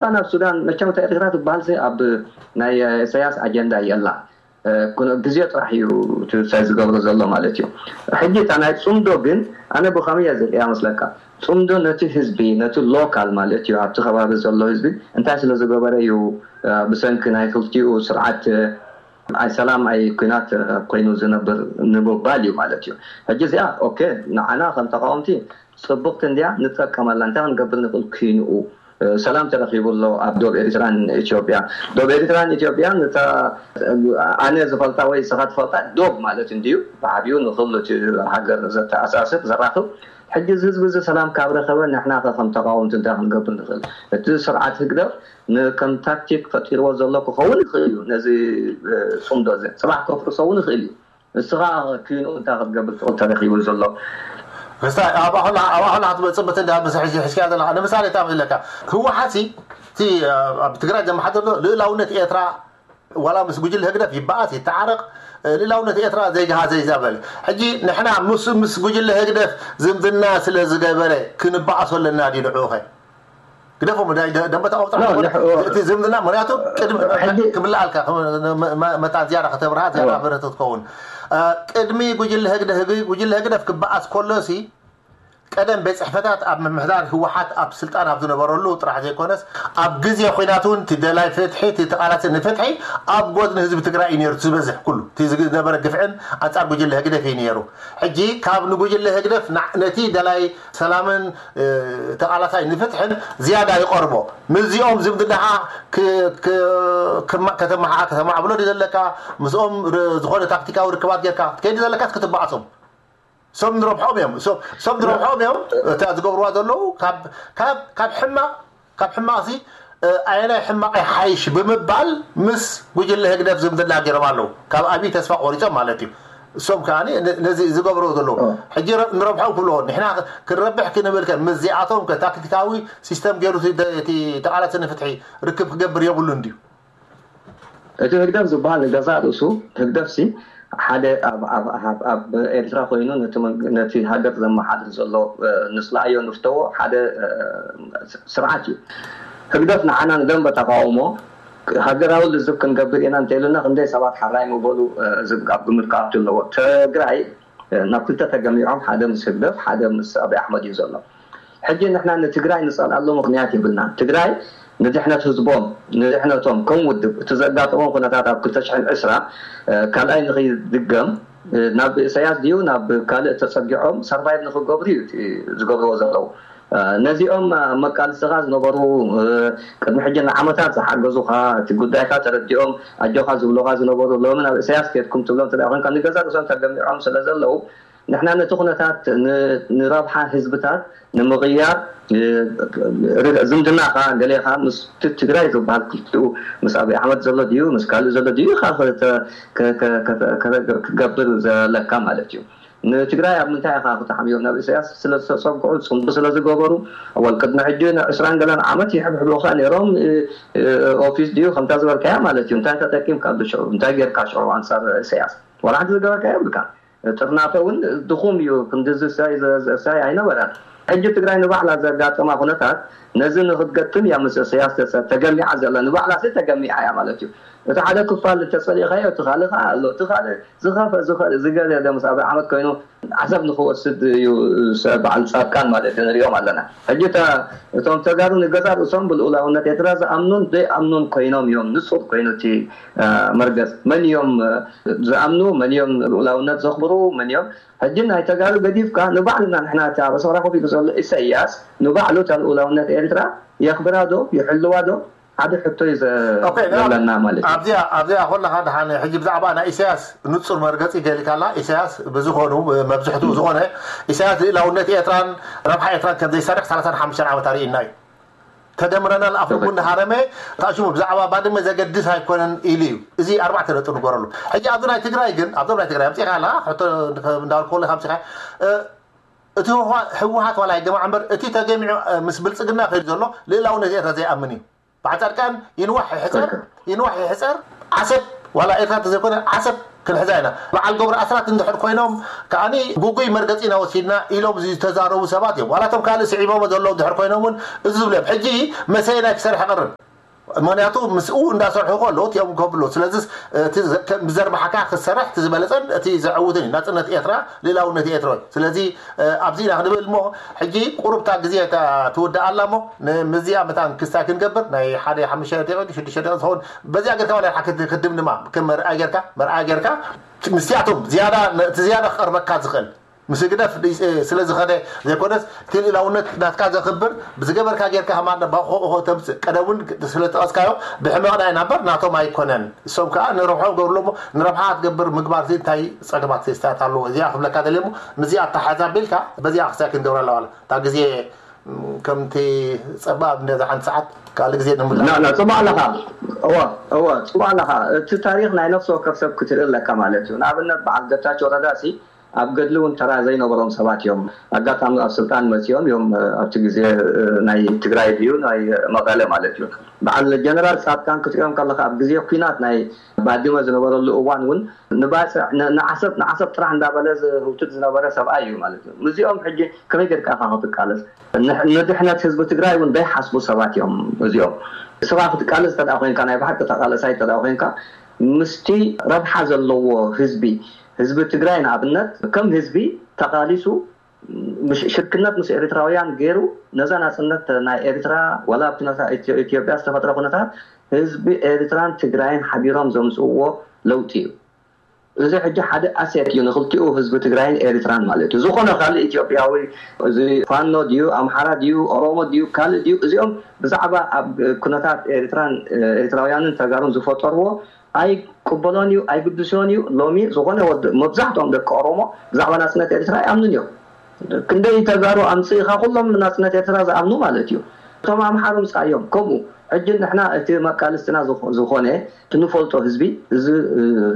ናብ ሱዳን መቸም እታ ኤርትራ ትበሃል ኣብ ናይ ኢሳያስ ኣጀንዳ የላ። ግዜ ጥራሕ እዩ ሳይ ዝገብሮ ዘሎ ማለት እዩ። ሕጂ እታ ናይ ፅምዶ ግን ኣነ ብኸመይ እየ ዝሪኣ መስለካ? ፅምዶ ነቲ ህዝቢ፣ ነቲ ሎካል ማለት እዩ ኣብቲ ከባቢ ዘሎ ህዝቢ እንታይ ስለ ዝገበረ እዩ ብሰንኪ ናይ ክልቲኡ ስርዓት ኣይ ሰላም ኣይ ኩናት ኮይኑ ዝነብር ንምባል እዩ ማለት እዩ። ሕጂ እዚኣ ኦኬ ንዓና ከም ተቃወምቲ ፅብቅቲ እንድያ፣ ንጠቀመላ። እንታይ ክንገብር ንክእል? ኩንኡ ሰላም ተረኪቡ ኣሎ ኣብ ዶብ ኤርትራን ኢትዮጵያ። ዶብ ኤርትራን ኢትዮጵያን እታ ኣነ ዝፈልጣ ወይ ስኻ ትፈልጣ ዶብ ማለት እንድዩ ብዓብዩ ንክሉ ሃገር ዘተኣሳስር ዘራኽብ። ሕጂ እዚ ህዝቢ እዚ ሰላም ካብ ረኸበ ንሕና ከ ከም ተቃወምቲ እንታይ ክንገብር ንክእል? እቲ ስርዓት ህግደፍ ንከም ታክቲክ ፈጢርዎ ዘሎ ክኸውን ይኽእል እዩ። ነዚ ፅምዶ እዚ ፅባሕ ከፍርሶ እውን ይኽእል እዩ። ንስኻ ኪንኡ እንታይ ክትገብር ትኽእል ተረኺቡ ዘሎ? ክስታይ ኣብ ኣኹላ ኣብ ኣኹላ ክትመፅእ ምትንዳ ምስ ሕዚ ሕዝክያ ዘለካ ንምሳሌ እንታይ ዘለካ ህወሓት እቲ ኣብ ትግራይ ዘመሓደር ዘሎ ልእላውነት ኤርትራ ዋላ ምስ ጉጅለ ህግደፍ ይበኣስ ይተዓረቕ ልእላውነት ኤርትራ ዘይገሃዘ ይዛበል። ሕጂ ንሕና ምስ ምስ ጉጅለ ህግደፍ ዝምድና ስለ ዝገበረ ክንበኣሶ ኣለና ድዩ ንዕኡ ኸ? ግደፎም ናይ ደንበ ተቃውሞ ጥራሕ እቲ ዝምድና ምክንያቱ ቅድሚ ክብላዓልካ መታን ዝያዳ ከተብርሃ ዝያዳ በረተ ትኸውን። ቅድሚ ጉጅለ ህግደ ህግ ጉጅለ ህግደፍ ክበኣስ ከሎ ሲ ቀደም ቤት ፅሕፈታት ኣብ ምምሕዳር ህወሓት ኣብ ስልጣን ኣብ ዝነበረሉ ጥራሕ ዘይኮነስ ኣብ ግዜ ኩናት እውን እቲ ደላይ ፍትሒ እቲ ተቃላሲ ንፍትሒ ኣብ ጎድኒ ህዝቢ ትግራይ እዩ ነይሩ። ዝበዝሕ ኩሉ እቲ ዝነበረ ግፍዕን ኣንፃር ጉጅለ ህግደፍ እዩ ነይሩ። ሕጂ ካብ ንጉጅለ ህግደፍ ነቲ ደላይ ሰላምን ተቃላሳይ ንፍትሕን ዝያዳ ይቐርቦ። ምስዚኦም ዝምድናኻ ከተማሓ ከተማዕብሎ ድዩ ዘለካ? ምስኦም ዝኾነ ታክቲካዊ ርክባት ጌርካ ትከይድ ዘለካስ ክትበኣሶም? ሰብ ንረብሖም እዮም። ሰብ ንረብሖም እዮም። እታ ዝገብርዋ ዘለዉ ካብ ሕማቕ ካብ ሕማቕ ሲ ኣየናይ ሕማቕ ይሓይሽ ብምባል ምስ ጉጅለ ህግደፍ ዝምድና ገይሮም ኣለዉ። ካብ ኣብይ ተስፋ ቆሪጾም ማለት እዩ። እሶም ከዓ ነዚ ዝገብርዎ ዘለዉ ሕጂ ንረብሖም ክብልዎ ንሕና ክንረብሕ ክንብል ከ ምስዚኣቶም ከ ታክቲካዊ ሲስተም ገይሩ እቲ ተቓላሲ ንፍትሒ ርክብ ክገብር የብሉን ድዩ? እቲ ህግደፍ ዝበሃል ንገዛእ ርእሱ ህግደፍ ሲ ሓደ ኣብ ኤርትራ ኮይኑ ነቲ ሃገር ዘመሓድር ዘሎ ንፅላእዮ ንፍተዎ ሓደ ስርዓት እዩ። ህግደፍ ንዓና ንደንበ ተቃውሞ ሃገራዊ ልዝብ ክንገብር ኢና እንተኢሉና ክንደይ ሰባት ሓራይ ምበሉ ኣብ ግምት ክኣቱ ኣለዎ። ትግራይ ናብ ክልተ ተገሚዖም ሓደ ምስ ህግደፍ ሓደ ምስ ኣብይ ኣሕመድ እዩ ዘሎ። ሕጂ ንሕና ንትግራይ ንፀልኣሉ ምኽንያት የብልናን። ትግራይ ንድሕነት ህዝቦም ንድሕነቶም ከም ውድብ እቲ ዘጋጠሞም ኩነታት ኣብ ክልተ ሽሕን ዕስራ ካልኣይ ንኸይድገም ናብ ኢሳያስ ድዩ ናብ ካልእ ተፀጊዖም ሰርቫይቭ ንክገብሩ እዩ ዝገብርዎ ዘለዉ። ነዚኦም መቃልስኻ ዝነበሩ ቅድሚ ሕጂ ንዓመታት ዝሓገዙኻ እቲ ጉዳይካ ተረዲኦም ኣጆኻ ዝብሉኻ ዝነበሩ ሎሚ ናብ ኢሳያስ ከድኩም ትብሎም ተዳ ኮንካ ንገዛ ርእሶም ተገሚዖም ስለ ዘለዉ ንሕና ነቲ ኩነታት ንረብሓ ህዝብታት ንምቕያር ዝምድናኻ ገሌኻ ምስ ትግራይ ዝበሃል ክልቲኡ ምስ ኣብይ ኣሕመድ ዘሎ ድዩ ምስ ካልእ ዘሎ ድዩ ኢኻ ክገብር ዘለካ ማለት እዩ። ንትግራይ ኣብ ምንታይ ኢኻ ክተሓምዮም ናብ ኢሳያስ ስለ ዝተፀግዑ ፅምዶ ስለ ዝገበሩ ወል ቅድሚ ሕጂ ዕስራን ገለን ዓመት ይሕብሕቡኻ ነይሮም። ኦፊስ ድዩ ከምታ ዝበልካያ ማለት እዩ እንታይ ተጠቂምካ ብሽዑ እንታይ ጌርካ ሽዑ ኣንፃር ኢሳያስ ዋላ ሓንቲ ዝገበርካ የብልካ። ጥርናፈ እውን ድኹም እዩ። ክንድዚ ሳይ ኣይነበረን። ሕጂ ትግራይ ንባዕላ ዘጋጠማ ኩነታት ነዚ ንክትገጥም እያ ምስ ኢሳያስ ተገሚዓ ዘላ። ንባዕላ ሲ ተገሚዓ እያ ማለት እዩ። እቲ ሓደ ክፋል እንተፀሊእካዮ እቲ ካልእ ከዓ ኣሎ። እቲ ካልእ ዝኸፈ ዝገደደ ምስ ኣብይ ኣሕመድ ኮይኑ ዓሰብ ንክወስድ እዩ በዓል ፃድቃን ማለት እዩ ንሪኦም ኣለና። ሕጂ እቶም ተጋሩ ንገዛ ርእሶም ብልኡላውነት ኤርትራ ዝኣምኑን ዘይኣምኑን ኮይኖም እዮም። ንፁር ኮይኑ እቲ መርገፅ መን እዮም ዝኣምኑ መን እዮም ልኡላውነት ዘኽብሩ መን እዮም። ሕጂ ናይ ተጋሩ ገዲፍካ ንባዕልና ንሕና እቲ ኣብ ኣስመራ ኮፍ ኢሉ ዘሎ ኢሳያስ ንባዕሉ እታ ልኡላውነት ኤርትራ የኽብራ ዶ ይሕልዋ ዶ ሓደ ሕቶ እዩ ዘለና ማለት እዩ። ኣብዚኣ ኣብዚኣ ኮለኻ ደሓን ሕጂ ብዛዕባ ናይ ኢሳያስ ንፁር መርገፂ ገሊካላ። ኢሳያስ ብዝኾኑ መብዝሕቱ ዝኾነ ኢሳያስ ልእላውነት ኤርትራን ረብሓ ኤርትራን ከም ዘይሰርሕ ሰላሳን ሓሙሽተን ዓመት ኣርእና እዩ። ተደምረናል ኣፉ እንዳሃረመ ታሽሙ ብዛዕባ ባድመ ዘገድስ ኣይኮነን ኢሉ እዩ። እዚ ኣርባዕተ ነጥብ ንገረሉ። ሕጂ ኣብዚ ናይ ትግራይ ግን ኣብዞም ናይ ትግራይ ኣምፂኻ ኣለካ ሕቶ እንዳበልኩ ከለካ ኣምፂኻ እቲ ህወሓት ዋላ ይገማዕ እምበር እቲ ተገሚዑ ምስ ብልፅግና ከይዱ ዘሎ ልእላውነት ኤርትራ ዘይኣምን እዩ። በዓል ፃድቃን ይንዋሕ ይሕፀር ይንዋሕ ይሕፀር ዓሰብ ዋላ ኤርትራ እንተዘይኮነ ዓሰብ ክንሕዛ ኢና። በዓል ገብሩ ኣስራት እንድሕር ኮይኖም ከዓኒ ግጉይ መርገፂ ኢና ወሲድና ኢሎም ዝተዛረቡ ሰባት እዮም። ዋላቶም ካልእ ስዒቦሞ ዘለዉ እንድሕር ኮይኖም እውን እዚ ዝብሉ እዮም። ሕጂ መሰየናይ ክሰርሕ ይቐርብ። ምክንያቱ ምስኡ እንዳሰርሑ ከለዉ እቲኦም ከብሉ። ስለዚ እቲ ዘ- ከም ብዘርባሕካ ክሰርሕ እቲ ዝበለፀን እቲ ዘዕውትን እዩ። ናፅነት ኤርትራ፣ ልእላውነት ኤርትራ እዩ። ስለዚ ኣብዚ ኢና ክንብል እሞ ሕጂ ቁሩብታ ግዜ እታ ትውዳእ ኣላ እሞ ንምዚኣ መታን ክስታይ ክንገብር ናይ ሓደ ሓሙሽተ ደቂቕ ሽዱሽተ ደቂቕ ዝኸውን በዚኣ ጌርካ ዋላ ክትድምድማ ከም መርኣያ ጌርካ መርኣያ ጌርካ ምስቲኣቶም ዝያዳ እቲ ዝያዳ ክቐርበካ ዝኽእል ምስ ህግደፍ ስለ ዝኸደ ዘይኮነስ እቲ ልእላውነት ናትካ ዘኽብር ብዝገበርካ ጌርካ ከማን ባኾ ተምፅእ ቀደም እውን ስለ ጠቐስካዮ ብሕመቕና ኢና እምበር ናቶም ኣይኮነን። እሶም ከዓ ንረብሖም ገብርሎ እሞ ንረብሓ ክትገብር ምግባር እንታይ ፀገማት ፌስታት ኣለዎ እዚኣ ክብለካ ደልየ እሞ ምስዚኣ ኣተሓዛቢልካ በዚኣ ክሳይ ክንገብራ ኣለዋላ እታ ግዜ ከምቲ ጸባብ እንደዛ ሓንቲ ሰዓት ካልእ ግዜ ንምላእ። ና ና ጽቡቅ ኣለኻ። እወ እወ ጽቡቅ ኣለኻ። እቲ ታሪኽ ናይ ነፍሲ ወከፍ ሰብ ክትርኢ ኣለካ ማለት እዩ። ንኣብነት በዓል ገታቸው ረዳ ሲ ኣብ ገድሊ እውን ተራ ዘይነበሮም ሰባት እዮም። ኣጋጣሚ ኣብ ስልጣን መጺኦም እዮም። ኣብቲ ግዜ ናይ ትግራይ ድዩ ናይ መቐለ ማለት እዩ። በዓል ጀነራል ጻድቃን ክትሪኦም ከለኻ ኣብ ግዜ ኲናት ናይ ባድመ ዝነበረሉ እዋን እውን ንባፅዕ ንዓሰብ ንዓሰብ ጥራሕ እንዳበለ ዝህውትት ዝነበረ ሰብኣይ እዩ ማለት እዩ። ምስዚኦም ሕጂ ከመይ ጌርካ ኢኻ ክትቃለስ? ንድሕነት ህዝቢ ትግራይ እውን ዘይሓስቡ ሰባት እዮም እዚኦም። ስኻ ክትቃለስ እንተ ኮይንካ ናይ ብሓቂ ተቃለሳይ እንተ ኮይንካ ምስቲ ረብሓ ዘለዎ ህዝቢ ህዝቢ ትግራይ ንኣብነት ከም ህዝቢ ተቃሊሱ ሽርክነት ምስ ኤርትራውያን ገይሩ ነዛ ናፅነት ናይ ኤርትራ ዋላ ኣብቲ ነታ ኢትዮጵያ ዝተፈጥረ ኩነታት ህዝቢ ኤርትራን ትግራይን ሓቢሮም ዘምፅእዎ ለውጢ እዩ። እዚ ሕጂ ሓደ ኣሴት እዩ ንክልቲኡ ህዝቢ ትግራይን ኤርትራን ማለት እዩ። ዝኾነ ካልእ ኢትዮጵያዊ እዚ ፋኖ ድዩ ኣምሓራ ድዩ ኦሮሞ ድዩ ካልእ ድዩ እዚኦም ብዛዕባ ኣብ ኩነታት ኤርትራን ኤርትራውያንን ተጋሩን ዝፈጠርዎ ኣይቅበሎን እዩ ኣይግድሶን እዩ። ሎሚ ዝኾነ ወዲ መብዛሕትኦም ደቂ ኦሮሞ ብዛዕባ ናፅነት ኤርትራ ኣይኣምኑን እዮም። ክንደይ ተጋሩ ኣምፅእኻ ኩሎም ናፅነት ኤርትራ ዝኣምኑ ማለት እዩ። እቶም ኣምሓሩ ምፃዮም ከምኡ ሕጂ ንሕና እቲ መቃልስትና ዝኾነ ትንፈልጦ ህዝቢ እዚ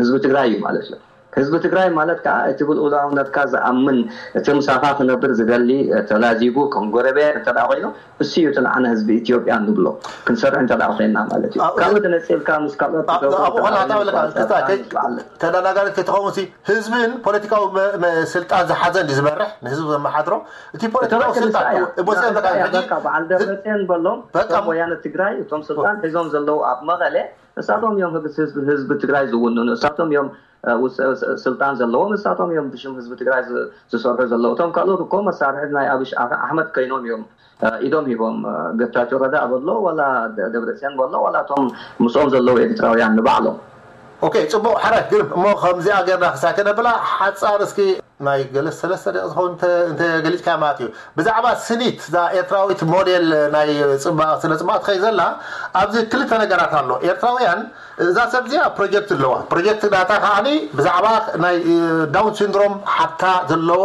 ህዝቢ ትግራይ እዩ ማለት እዩ። ህዝቢ ትግራይ ማለት ከዓ እቲ ብልኡላውነትካ ዝኣምን እቲ ምሳኻ ክነብር ዝደሊ ተላዚቡ ከም ጎረቤት እንተ ኮይኑ እሱ እዩ እቲ ንዓና ህዝቢ ኢትዮጵያ ንብሎ ክንሰርሕ እንተ ኮይንና ማለት እዩ። ካብኡ ተነፂልካ ምስ ካልኦት ተዳናጋሪ ተትኸውን ህዝብን ፖለቲካዊ ስልጣን ዝሓዘ እንዲ ዝመርሕ ንህዝቢ ዘመሓድሮ እቲ ፖለቲካዊ ስልጣን በዓል ደብረፅዮን በሎም ወያነ ትግራይ እቶም ስልጣን ሒዞም ዘለዉ ኣብ መቐለ እሳቶም እዮም ህዝቢ ትግራይ ዝውንኑ እሳቶም እዮም ስልጣን ዘለዎም እሳቶም እዮም ብሽም ህዝቢ ትግራይ ዝሰርሑ ዘለዉ እቶም ካልኦት እኮ መሳርሒ ናይ ኣብሽ ኣሕመድ ኮይኖም እዮም ኢዶም ሂቦም ገታቸው ረዳ በሎ ዋላ ደብረፅዮን በሎ ዋላ እቶም ምስኦም ዘለዉ ኤርትራውያን ንባዕሎም ኦኬ ፅቡቅ ሓራይ ግርም እሞ ከምዚኣ ገርና ክሳይ ከነብላ ሓፃር እስኪ ናይ ገለ ሰለስተ ደቂ ዝኸውን እንተ ገሊፅካ ማለት እዩ ብዛዕባ ስኒት እዛ ኤርትራዊት ሞዴል ናይ ስነ ፅባቅ ትኸይ ዘላ ኣብዚ ክልተ ነገራት ኣሎ ኤርትራውያን እዛ ሰብ እዚኣ ፕሮጀክት ኣለዋ ፕሮጀክት ናታ ከዓኒ ብዛዕባ ናይ ዳውን ሲንድሮም ሓታ ዘለዎ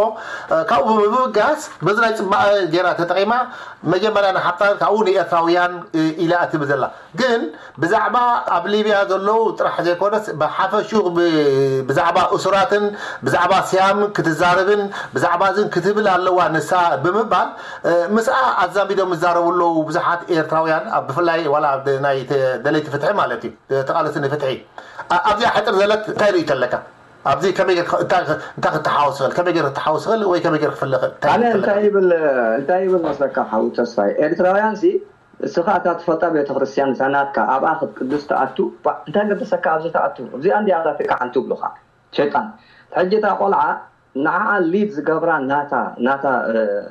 ካብኡ ብምብጋስ በዚ ናይ ፅባቐ ጌራ ተጠቂማ መጀመርያ ንሓታ ካብኡ ንኤርትራውያን ኢላ እትብል ዘላ ግን ብዛዕባ ኣብ ሊብያ ዘለዉ ጥራሕ ዘይኮነስ ብሓፈሽኡ ብዛዕባ እሱራትን ብዛዕባ ስያም ክትዛረብን ብዛዕባ እዝን ክትብል ኣለዋ ንሳ ብምባል ምስኣ ኣዛሚዶም ዝዛረቡ ኣለዉ ብዙሓት ኤርትራውያን ብፍላይ ዋላ ናይ ደለይቲ ፍትሒ ማለት እዩ ተቃለሲ ንፍትሒ ኣብዚኣ ሕጥር ዘለት እንታይ ርእይቶ ኣለካ ኣብዚ ከመይ እንታይ ክተሓወስ ይኽእል ከመይ ገር ክተሓወስ ይኽእል ወይ ከመይ ገር ክፍለ ይኽእል ኣነ እንታይ ይብል እንታይ ይብል መስለካ ሓው ተስፋይ ኤርትራውያን ሲ እስኻ እታ ትፈልጣ ቤተክርስትያን እታ ናትካ ኣብኣ ክትቅድስ ትኣቱ እንታይ ገደሰካ ኣብዚ ትኣቱ እዚኣ እንዲያ ኣላትካ ሓንቲ ብሉኻ ሸይጣን ሕጂ እታ ቆልዓ ንዓኣ ሊድ ዝገብራ ናታ ናታ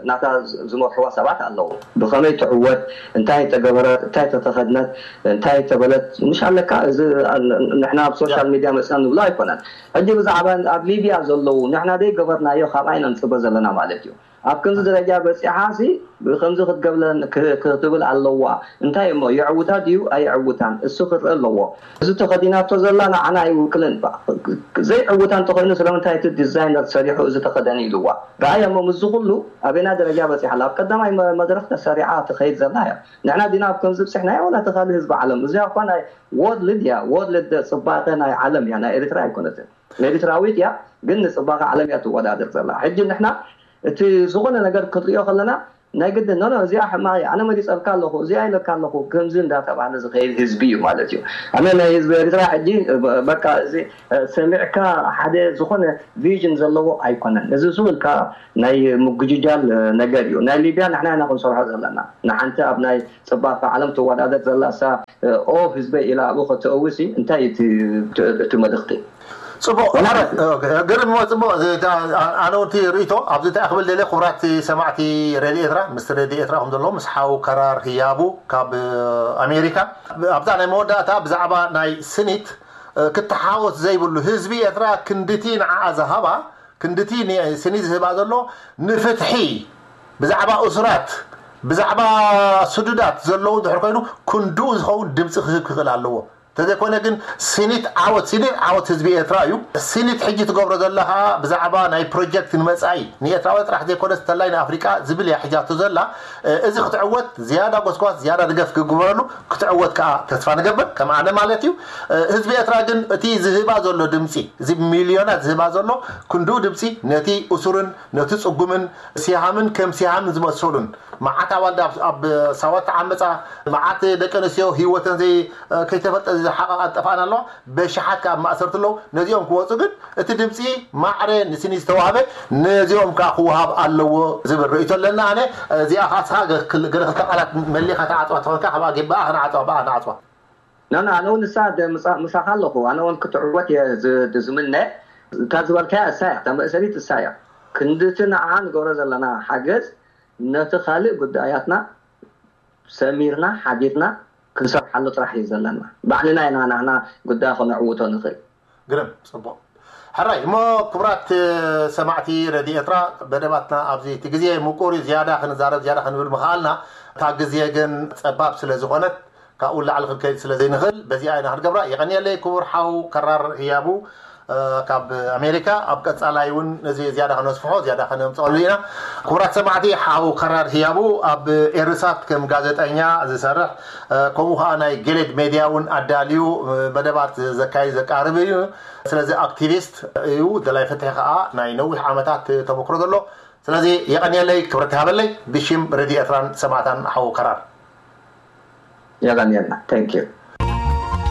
ናታ ዝመርሕዋ ሰባት ኣለዉ ብኸመይ ትዕወት እንታይ ተገበረት እንታይ ተተኸድነት እንታይ ተበለት ምሽ ኣለካ እዚ ንሕና ኣብ ሶሻል ሚድያ መፅና ንብሎ ኣይኮነን ሕጂ ብዛዕባ ኣብ ሊብያ ዘለዉ ንሕና ደይ ገበርናዮ ካብኣ ኢና ንፅበ ዘለና ማለት እዩ ኣብ ከምዚ ደረጃ በፂሓ ሲ ብከምዚ ክትገብለን ክትብል ኣለዋ እንታይ እሞ የዕውታ ድዩ ኣይዕውታን እሱ ክርኢ ኣለዎ እዚ ተኸዲናቶ ዘላ ንዓና ኣይውክልን ዘይዕውታ እንተኮይኑ ስለምንታይ እቲ ዲዛይነር ሰሪሑ እዚ ተኸደኒ ኢልዋ ረኣያ እሞ ምስዚ ኩሉ ኣበና ደረጃ በፂሓ ኣብ ቀዳማይ መድረክ ተሰሪዓ ትኸይድ ዘላ እያ ንሕና ዲና ኣብ ከምዚ ብፅሕናዮ ወላ ተኻሊ ህዝቢ ዓለም እዚኣ እኳ ናይ ወርልድ እያ ወርልድ ፅባቐ ናይ ዓለም እያ ናይ ኤርትራ ኣይኮነትን ኤርትራዊት እያ ግን ንፅባቐ ዓለም እያ ትወዳደር ዘላ ሕጂ ንሕና እቲ ዝኾነ ነገር ክትሪኦ ከለና ናይ ግድን ኖ እዚኣ ሕማቕ ኣነ መሪፀልካ ኣለኹ እዚኣ ኢለካ ኣለኹ ከምዚ እንዳተባህለ ዝኸይድ ህዝቢ እዩ ማለት እዩ። ኣነ ናይ ህዝቢ ኤርትራ ሕጂ በቃ እዚ ሰሚዕካ ሓደ ዝኾነ ቪዥን ዘለዎ ኣይኮነን። እዚ ዝብልካ ናይ ምጉጅጃል ነገር እዩ። ናይ ሊብያ ንሕና ኢና ክንሰርሖ ዘለና። ንሓንቲ ኣብ ናይ ፅባሕ ዓለም ትወዳደር ዘላ እሳ ኦ ህዝበይ ኢላ ኣብኡ ከተእውሲ እንታይ እቲ መልእኽቲ? ፅቡቅ። ግርም፣ ፅቡቅ። ኣነ እውን ርእቶ ኣብዚ እንታይ ክብል ደለ ክቡራት ሰማዕቲ ሬድዮ ኤርትራ፣ ምስ ሬድዮ ኤርትራ ከም ዘለዎ ምስ ሓው ከራር ህያቡ ካብ ኣሜሪካ ኣብዛ ናይ መወዳእታ ብዛዕባ ናይ ስኒት ክትሓወስ ዘይብሉ ህዝቢ ኤርትራ ክንድቲ ንዓኣ ዝሃባ ክንድቲ ስኒት ዝህባ ዘሎ ንፍትሒ ብዛዕባ እሱራት ብዛዕባ ስዱዳት ዘለዉ ድሕር ኮይኑ ክንድኡ ዝኸውን ድምፂ ክህብ ክኽእል ኣለዎ። ተዘይኮነ ግን ስኒት ዓወት ስኒት ዓወት ህዝቢ ኤርትራ እዩ። ስኒት ሕጂ ትገብሮ ዘላ ከዓ ብዛዕባ ናይ ፕሮጀክት ንመፃኢ ንኤርትራዊ ጥራሕ ዘይኮነስ ተላይ ንኣፍሪቃ ዝብል እያ ሕጃቶ ዘላ። እዚ ክትዕወት ዝያዳ ጎስጓስ ዝያዳ ድገፍ ክግበረሉ ክትዕወት ከዓ ተስፋ ንገብር ከም ኣነ ማለት እዩ። ህዝቢ ኤርትራ ግን እቲ ዝህባ ዘሎ ድምፂ እዚ ሚልዮናት ዝህባ ዘሎ ክንድኡ ድምፂ ነቲ እሱርን ነቲ ፅጉምን ሲሃምን ከም ሲሃምን ዝመሰሉን መዓት ኣዋልድ ኣብ ሳዋ ተዓመፃ፣ መዓት ደቂ ኣንስትዮ ህይወተን ዘይ ከይተፈልጠ ዝሓቐቓ ጠፋኣን ኣለዋ። በሽሓት ካብ ማእሰርቲ ኣለዉ። ነዚኦም ክወፁ ግን እቲ ድምፂ ማዕረ ንስኒ ዝተዋህበ ነዚኦም ከዓ ክወሃብ ኣለዎ ዝብል ርእይቶ ኣለና። ኣነ እዚኣ ካስኻ ገለ ክልተ ቃላት መሊኻ ተዓፅዋ ተኾንካ ካብኣ ጌ ብኣ ክነዓፅዋ ብኣ ንዓፅዋ። ናና ኣነ እውን ንሳ ምሳኻ ኣለኹ። ኣነ እውን ክትዕወት እየ ዝምነ። እታ ዝበልካያ እሳ እያ፣ እታ መእሰሪት እሳ እያ። ክንድቲ ንዓኣ ንገብሮ ዘለና ሓገዝ ነቲ ካልእ ጉዳያትና ሰሚርና ሓቢርና ክንሰርሓሉ ጥራሕ እዩ ዘለና። ባዕልና ኢና ናህና ጉዳይ ከነዕውቶ ንኽእል። ግርም ፅቡቅ። ሕራይ እሞ ክቡራት ሰማዕቲ ረድዮ ኤርትራ መደባትና ኣብዚ እቲ ግዜ ምቁር እዩ። ዝያዳ ክንዛረብ ዝያዳ ክንብል ምኽኣልና እታ ግዜ ግን ፀባብ ስለ ዝኾነት ካብኡ ላዕሊ ክንከይድ ስለ ዘይንኽእል በዚኣ ኢና ክንገብራ። የቐንየለይ ክቡር ሓው ከራር ህያቡ ካብ ኣሜሪካ። ኣብ ቀፃላይ እውን ነዚ ዝያዳ ከነስፍሖ ዝያዳ ከነምፀሉ ኢና። ክቡራት ሰማዕቲ ሓው ከራር ህያቡ ኣብ ኤርሳት ከም ጋዜጠኛ ዝሰርሕ ከምኡ ከዓ ናይ ጌሌድ ሜድያ እውን ኣዳልዩ መደባት ዘካይድ ዘቃርብ እዩ። ስለዚ ኣክቲቪስት እዩ። ደላይ ፍትሒ ከዓ ናይ ነዊሕ ዓመታት ተመክሮ ዘሎ። ስለዚ የቐንየለይ ክብረት ሃበለይ ብሽም ሬድዮ ኤርትራን ሰማዕታን ሓው ከራር። የቐንየልና። Thank you።